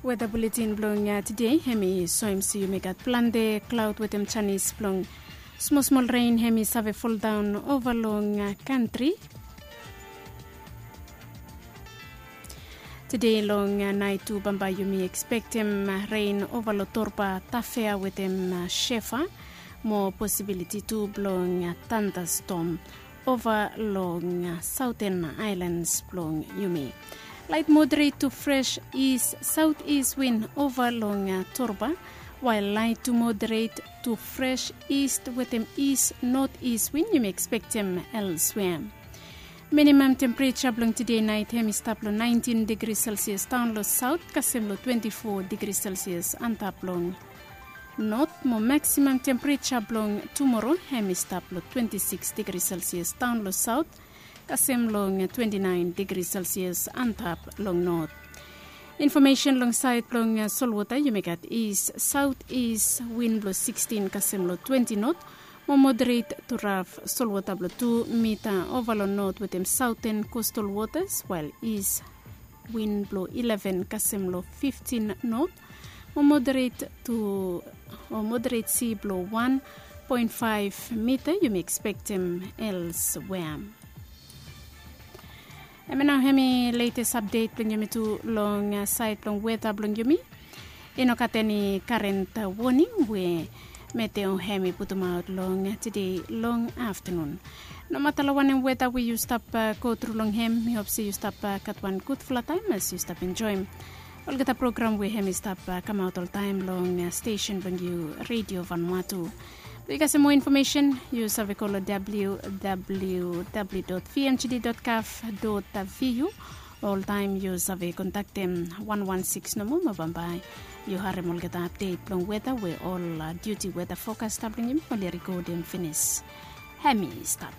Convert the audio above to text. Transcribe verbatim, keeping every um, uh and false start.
Weta buletin blong tide hem i soem se yumi gat plante klaod wetem janis blong smosmol ren hem i save foldaon ova long kantri. Tide long nait tu bambae yumi ekspektem ren ova long torba tafea wetem shefa, mo posibiliti tu blong tandastom ova long saoten aelans blong yumi. Lait moderet tu fres is saot is win ova long torba, wael lait tu moderet tu fres is wetem is not is win yumi ekspektem elswea. Minimam tempereja blong tide nait hem i stap long naentin digri selsias daon long saot kasem long twenti fo digri selsias antap long not, mo maksimam tempereja blong tumoro hem i stap long twenti siks digri selsias daon long saot kasem long twenti naen digri selsias antap long not. Infomesen long saed blong solwota yumi gat is saot is win blong sikstin kasem long twenti not, mo moderet tu raf solwota blong tu mita ova long not wetem saoten kostal wotas, wael is win blong ileven kasem long fiftin not, mo moderet tu o moderet si blong wan poen faef mita yumi ekspektem elswea. Hemia nao hem i letes apdet blong yumi tu long saed blong weta blong yumi. I no gat eni karen woning we meteo hem i putumaot long tide long aftanun. Nomata long wanem weta we yu stap gotru long hem, mi hop se yu stap gat wan gudfala taem as yu stap enjoem olgeta program we hem i stap kamaot oltaem long stesen blong yu, Redio Vanuatu. Blong yu kasem moa infomesen yu save go long www dot vmgd dot gov dot vu. Oltaem yu save kontaktem wan wan siks nomo mo bambae yu harem olgeta apdet blong weta we ol diuti weta fokasta blong yumi oli rekodem finis. Hem i stap.